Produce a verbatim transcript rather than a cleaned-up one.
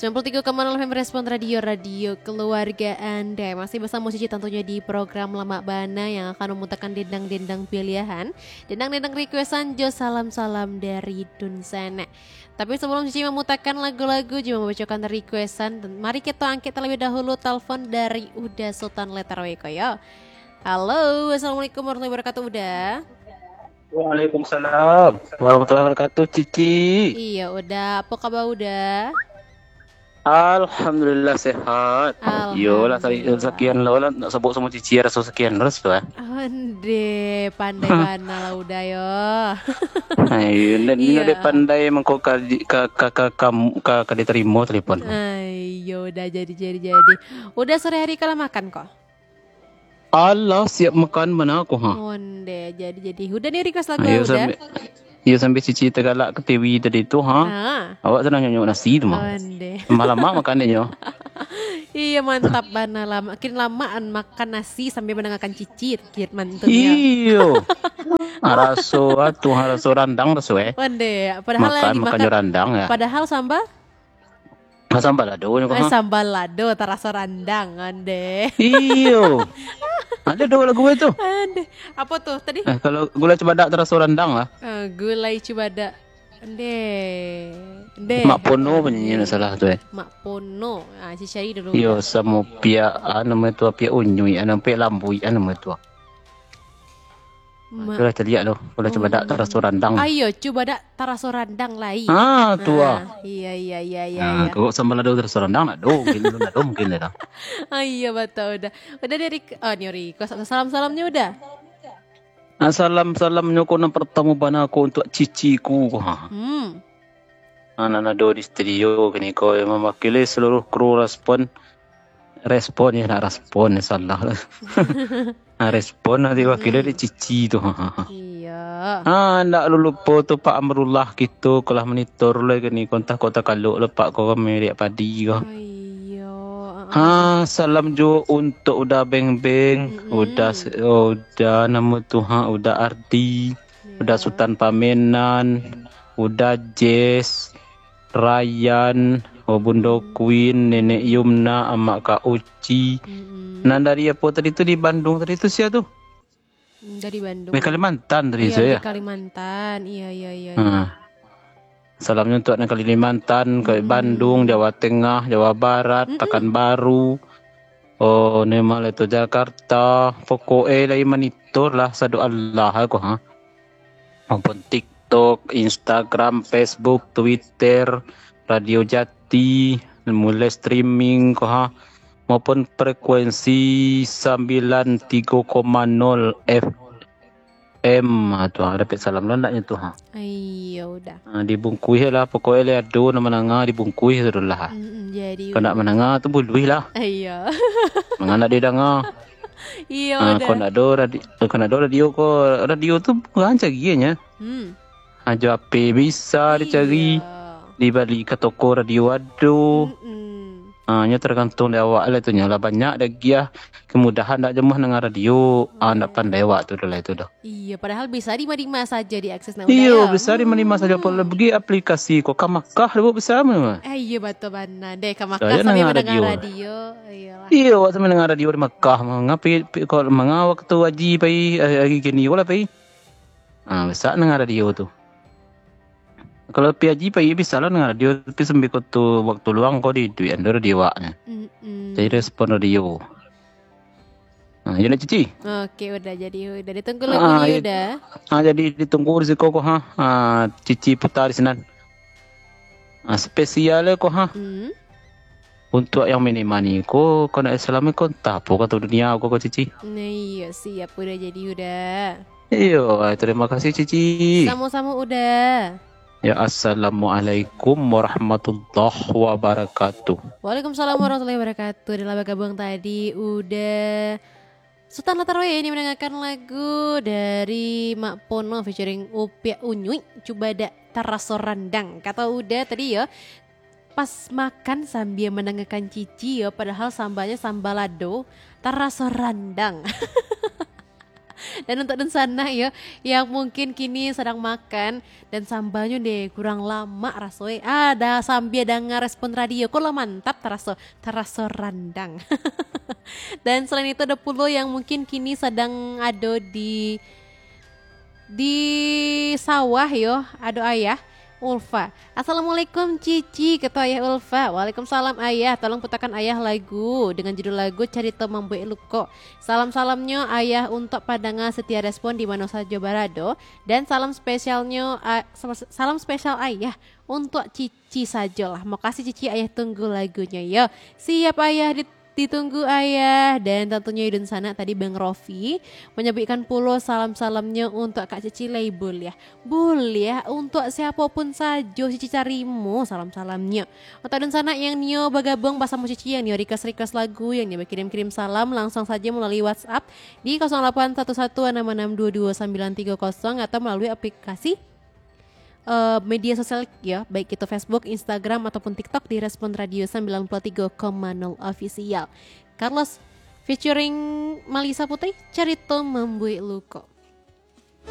Sembilan puluh tiga koma nol F M Respon Radio, radio keluarga Anda. Masih bersama Cici tentunya di program Lamak Bana yang akan memutarkan dendang-dendang pilihan, dendang-dendang requestan jo salam-salam dari Dunsanak. Tapi sebelum Cici memutarkan lagu-lagu, juga membacakan requestan, mari kita angkat terlebih dahulu telepon dari Uda Sultan Letarwe ko yo. Halo, assalamualaikum warahmatullahi wabarakatuh, Uda. Waalaikumsalam warahmatullahi wabarakatuh, Cici. Iya, Uda. Apa kabar, Uda? Alhamdulillah, sehat. Iyolah, tadi Alhamdulillah. Sakian lo lah, nak sebut samo Cici, raso sakian terus tu, eh. Onde, pandai bana lah, Uda, yo. Ayo, nan Iya. Dek pandai mangko ka, ka, ka, ka, ka, ka, ka diterima telepon. Ayo, Uda, jadi, jadi, jadi. Uda, sore hari kalau makan ko? Alah, siap makan bana ko, ha. Onde, jadi, jadi. Uda ni request lagu, Ayo, Uda. Sambil, iyo, sambil Cici tagalak ka T V tadi tu, ha. Ha. Awak sadang nyonyok nasi tu, mah. Onde. Malam makan dia nyo. Iya, mantap bana lah. Makin lama an makan nasi sambil mendengarkan Cici, kir mantun ya. Iyo. Ah, raso ah, tu, ah, raso randang raso, eh. Onde, padahal Makan, yang makan dimakan jo randang, ya. Padahal sambal? Ah, sambal lado nyo, Eh, ha. Sambal lado, taraso randang, onde. Iyo. Ada dua lagu itu. Onde. Apa tu tadi? Eh, kalau gulai cubadak taraso randang lah. Ah, gulai cubadak. Onde. Onde. Mak Pono penyanyi nak salah tu, eh. Mak Pono. Ah, Cici cari dulu. Iyo, samo piak, ah, namo tu, piak unyuik, ah, namo piak lambuik, ah, namo tu. Ma- Itulah caliak tu. Kalau cubadak Oh. taraso randang. Ah, iyo, cubadak taraso randang lai. Ah, tu ah. Ah, iya, iya, iya, iya, Ah, iya. Kok sambal lado taraso randang nak do, mungkin tu nak do, mungkin dah. Ah, iya, batul dah. Udah dari ke-, oh, ni request. Salam-salamnya udah? Ah, salam-salamnyo ko nan partamo bana ko untuak Cici ku, ha. Hmm. Ah, nan ado di studio kini ko, mewakili seluruh kru Respon. Respon, ya, nak Respon, ya, salah lah. Ah, Respon nanti wakili Hmm. dek Cici tu. Iya. Ah, ndak lulupo tu Pak Amrullah kito, ko lah monitor lah kini ko, antah ko takalok lah Pak ko, kami liak padi ko. Oh, iya. Ah, ah. Ha, salam juo untuak Uda Beng Beng, Mm-mm. Uda se-, Uda namo tu, ha, Uda Ardi, Uda Iya. Sutan Pamenan, Uda Jess, Ryan, oh, Bundo Mm. Queen, Nenek Yumna, Amak Kak Uci. Mm-mm. Nan dari apo tadi tu, di Bandung tadi tu, sia tu? Hmm, dari Bandung. Dari Kalimantan tadi Iya, tu, dari ya? Kalimantan. Iya, iya, iya, iya. Ha. Salamnyo untuak nan Kalimantan, ka Mm-mm. Bandung, Jawa Tengah, Jawa Barat, Mm-mm. Pekanbaru. Oh, ni malah tu Jakarta. Pokok e lai monitor lah, sado Allah ko, ha. Maupun TikTok, Instagram, Facebook, Twitter, Radio Jati, mulai streaming ko, ha. Maupun frekuensi sambilan tigo koma nol F M, ha, tu, ha, dapek salam lah andaknyo tu, ha. Iya, udah. Ha, dibungkuih lah, pokoknyo lah ado nan mandanga, dibungkuih tu lah. Mm-mm, jadi Kok nak udah. Mandanga tu buluih lah. Iya. Manga nak didanga. Iya, ha, udah. Kok nak ado radi-, kok nak ado radio ko, radio tu murah carianyo. Hmm. Ha, jo H P bisa dicari. Iya. Dibali ka toko radio ado. Mm-mm. Ha, nyo tergantung dari awak lah tu, nyo lah banyak dah giah kemudahan dak jemuah nanga radio. Ah, ndak pandai awak tu dah lah itu dah. Iya, padahal bisa di ma-di ma saja diakses nak Iyo, udah ya. Bisa di ma-di ma saja. Hmm. Kalau bagi aplikasi ko ka Makkah dulu bisa mah. Eh, iya, batul bana. Deh, ka Makkah Saya sambil nanga mendengar radio. Radio. Iyalah. Iyo, awak sambil nanga radio di Makkah mah. Ngapi, pi-, kalau manga waktu haji pai, eh, hari kini ko lah pai. Ah, bisa nanga radio tu. Kalau pi haji pai bisa lah nanga radio, tapi sambil ko tu waktu luang ko di duit ando radio awaknyo. Mm-mm. Jadi respon radio. Ha, iyo lah, Cici. Oke, udah jadi, udah ditunggu lagu Ah, ni, iyo. Udah. Ha, jadi ditunggu di siko ko, ha. Ha, Cici putar di sinan. Ha, spesial ko, ha. Hmm. Untuak yang mini mani ko, kok nak Islam ko, entah apo kato dunia ko, ko Cici. Nah, iya, siap, udah jadi, udah. Iyo, ah, terima kasih, Cici. Sama-sama, udah. Ya, assalamualaikum warahmatullahi wabarakatuh. Waalaikumsalam warahmatullahi wabarakatuh. Dalam bergabung tadi udah Sultan Latarwe ini mendengarkan lagu dari Mak Pono featuring Upiak Unyuik, Cubadak Taraso Randang. Kata udah tadi ya, pas makan sambil mendengarkan Cici ya, padahal sambalnya sambal lado, taraso randang. Dan untuk dunsanak yo, yang mungkin kini sadang makan, dan sambalnyo deh kurang lamak raso eh. Ada sambia danga Respon Radio, ko lah mantap taraso, taraso randang. Dan selain itu ada pulo yang mungkin kini sadang ado di, di sawah yo, ado ayah Ulfa. "Assalamualaikum Cici," kata ayah Ulfa. "Waalaikumsalam ayah, tolong putakan ayah lagu dengan judul lagu Carito Mambuek Luko. Salam-salamnyo ayah untuk padanga setia Respon di mano sajo barado, dan salam spesialnyo, a-, salam, salam spesial ayah untuk Cici sajolah." Makasih Cici, ayah tunggu lagunyo yo. Siap ayah, di-, ditunggu ayah. Dan tantunyo dunsanak tadi Bang Rofi manyabuikkan pulo salam-salamnyo untuk Kak Cici lai buliah. Buliah untuk siapo pun sajo Cici tarimo salam-salamnyo. Untuk dunsanak yang nio bagabuang basamo Cici, yang nio request-request lagu, yang nio bakirim-kirim salam, langsung sajo malalui WhatsApp di kosong lapan satu satu anam anam dua dua sambilan tiga kosong atau malalui aplikasi, eh, media sosial yo, baik itu Facebook, Instagram, ataupun TikTok di Respon Radio sembilan puluh tiga koma nol Official. Carlos featuring Malisa Putri, Carito Mambuek Luko.